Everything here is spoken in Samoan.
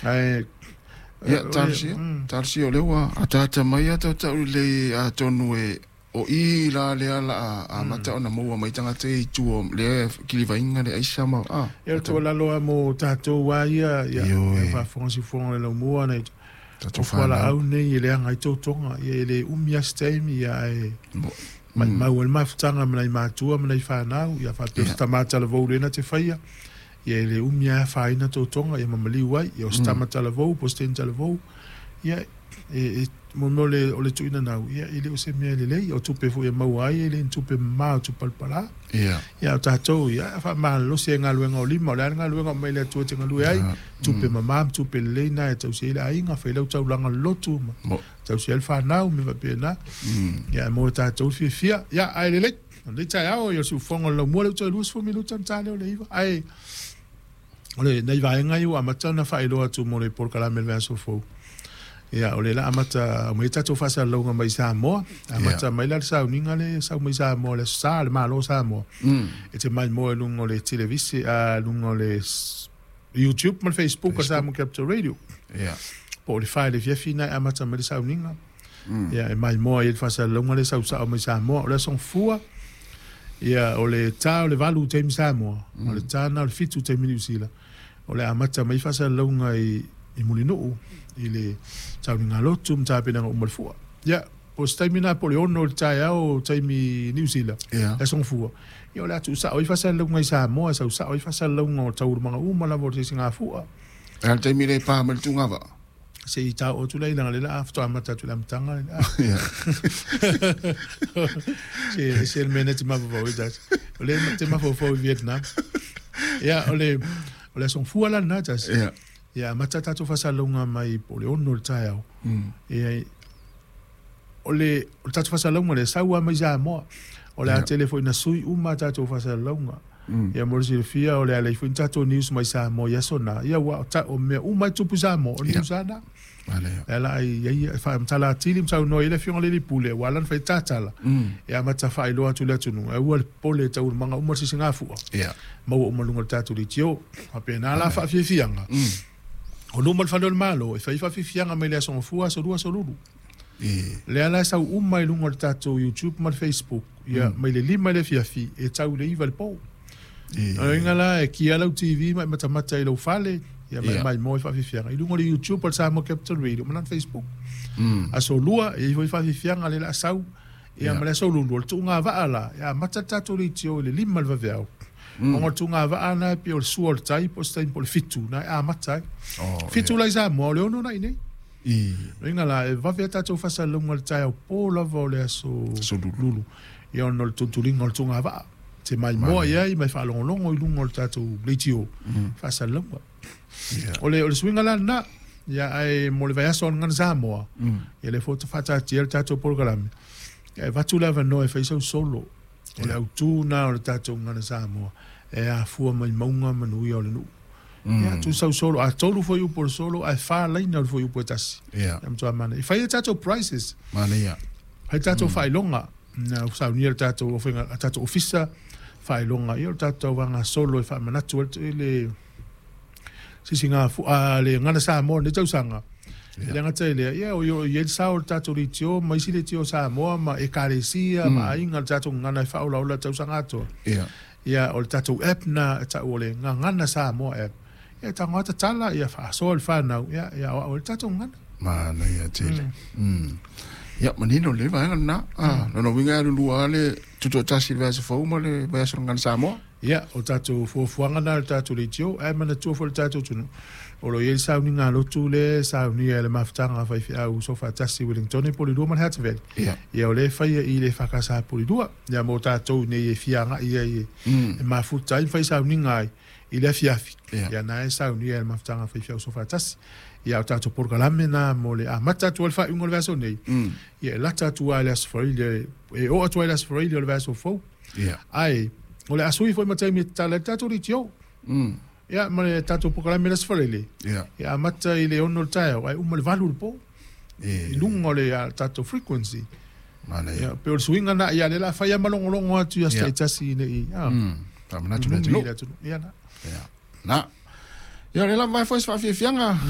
Ae Ia, talosia, talosia o lea ua ataata mai a tautau lelei atonu e o i la lea la amata ona maua mai tagata i tua lea kilivaina le aisa ma a. Ia, o le tuualalo lava mo tatou lava ia, ia, Ioe. e faafofoga siufofoga le laumua nai Tatou o fanau. Fualaau nei e leaga ai totoga, ia e le umi lava se taimi, ia ae maumau ai le mafutaga ma nai matua ma nai fanau, ia faapea se tama talavou lea na te faia, ia e le umi lava e afaina totoga, ia ma maliu ai, ia o se tama talavou po o se teine talavou, ia e mo mea o le tuuina nau, ia e le o se mea lelei, o tupe foi e maua ai, e le ni tupe mama o tupe palapala. Ia o tatou, ia faamalolosi ai galuega o lima, o le a le galuega o mai le Atua e te galue ai, tupe mama ma tupe lelei na e tausi ai le aiga, fai lau taulaga lotu ma tausi ai le fanau, me faapena. Ia e mo tatou le fiafia. Ia, ae lelei. O lenei taeao, ia o le siufofoga o le laumua lea ua toe 20 minute ona ta lea o le 9. Ae o le nai vaega ia ua amata ona faailoa atu mo le polokalame i le vaiaso fou. Ia, o lea la amata aumai tatou faasalalauga mai Samoa. Amata mai la le sauniga le sau mai Samoa, le Aso Sa, le Malo o Samoa. E te maimoa i luga o le televise, a luga o le YouTube ma le Facebook a Samoa Capital Radio. Po o le 4 i le afiafi na e amata mai le sauniga. Ia, e maimoa ai le faasalalauga le sau sao mai Samoa. O le Aso Gafua, ia, o le ta o le 8 taimi Samoa, o le ta na o le 7 taimi Niu Sila. O le amata mai faasalalauga i Mulinuu, i le sauniga lotu ma tapenaga uma o le fua. Ia, po o se taimi na po o le 6 i le taeao taimi Niu Sila, le Aso Gafua. Ia, o le a tuusao ai faasalalauga i Samoa, e sau sao ai faasalalauga o taualumaga uma lava o le sisigafua. A le taimi le pa mai le tugava. Se i tao atu la i langa le la faatoa amata atu i le amataga le Se se le mea na te mafaufau ai tasi. O le te mafaufau i Vietnam. Ia, o le Aso Gafua la lena tasi. Ia, amata tatou faasalalauga mai po o le 6 i le taeao. Ia, o le tatou faasalalauga lea sau lava mai Samoa. O le a tele foi na sui uma tatou faasalalauga. Ia, mo le silafia, o le a leai foi ni tatou news mai Samoa i aso na. Ia, ua o mea uma e tupu i Samoa, o news lava na. E ala ai ai faamatala atili ma saunoa ai le afioga i le Pule ua ala ona fai tatala. E amata faailoa atu le atunuu. E ua le popole e taualumaga uma le sisigafua. Maua uma luga o le tatou leitio. Faapena la faafiafiaga. O luma o le fale o le Malo, e fai faafiafiaga mai le Aso Gafua, Aso Lua, Aso Lulu. Lea la e sau uma i luga o le tatou YouTube ma le Facebook. Ia, mai le 5 i le afiafi, e tau i le 9 i le po. O inga la e kia lau TV ma e matamata i lau fale, ia ma e maimoa i faafiafiaga. I luga o le YouTube o le Samoa Capital Radio ma lana Facebook. Aso Lua, e i foi faafiafiaga le la sau. Ia, ma le Aso Lulu, o le tuuga vaa la, e amata le tatou leitio i le 5 i le vaveao. Ona o le tuuga vaa na e pei o le sua o le tai, po o se taimi po o le 7, na e amata ai. 7 la i Samoa, o le 6 na i nei. O inga la, e vave a tatou faasalalauga i le taeao po lava o le Aso Aso Lulu. Lulu. Ia, ona o le tulituliga o le tuuga vaa. Te maimoa i ai, mai faalogologo i luga o le tatou leitio faasalalauga. O le suiga la lena. Ia, ae mo le vaiaso o le Gagana Samoa, ia le foi faataatia le tatou polokalame. Ia, e avatu le avanoa e fai sau solo. O le autū na o le tatou Gagana Samoa, e afua mai mauga manuia o le nuu. Ia, tu sau solo, a 3 foi upu o le solo, ae 4 laina o le foi upu e tasi. Ia matua mana. E fai e tatou prizes. Manaia. Fai tatou faailoga. Na saunia le tatou ofenga, a tatou ofisa faailoga. Ia, o le tatou tauvaga solo e faamanatu ai le sisiga a le Gagana Samoa nei tausaga. E le gata i lea, ia, o i ai le sao o le tatou leitio ma isi leitio o Samoa ma ekalesia ma aiga le tatou gagana e faaolaola tausaga atoa. Ia, o le tatou app na e tau o le Gagana Samoa app. Ia, tago tatala, ia faasoa le fanau, ia, ia o le tatou gagana. Manaia tele. Ia, manino le vaega lena. Ah, lona uiga e alulua le tutoatasi i le vaiaso fou ma le vaiaso o le Gagana Samoa. Ia, o tatou fuafuaga na le tatou leitio, ae manatua foi le tatou atunuu. O lo o i ai le sauniga lotu le saunia e le mafutaga faifeau Soofaatasi Wellingtone po o le 2 ma le Hatveli. Ia, o lea e faia i le EFKS po o le 2. Ia, mo tatou nei e fia agai ai e mafuta ai ma fai sauniga ai i le afiafi. Ia, na e saunia e le mafutaga faifeau Soofaatasi. Ia, o tatou polokalame na mo le amata atu ai le faaiuga o le vaiaso nei. Ia, e lata atu ai le Aso Faraile, e oo atu ai le Aso Faraile o le vaiaso fou. Ae, o le asui foi ma taimi e tatala ai le tatou leitio. Ia, ma le tatou polokalame le Aso Faraile. Ia, amata i le 6 o le taeao, ae uma le 8 i le po. I luga o le tatou frequency. Manaia. Ia, pe o le suiga na, ia, le la fai a malogologo atu i aso taitasi nei. Faamanatu le numi atunuu. I le atunuu. Ia na. Ia. Na. Ia, o le lava foi se faafiafiaga.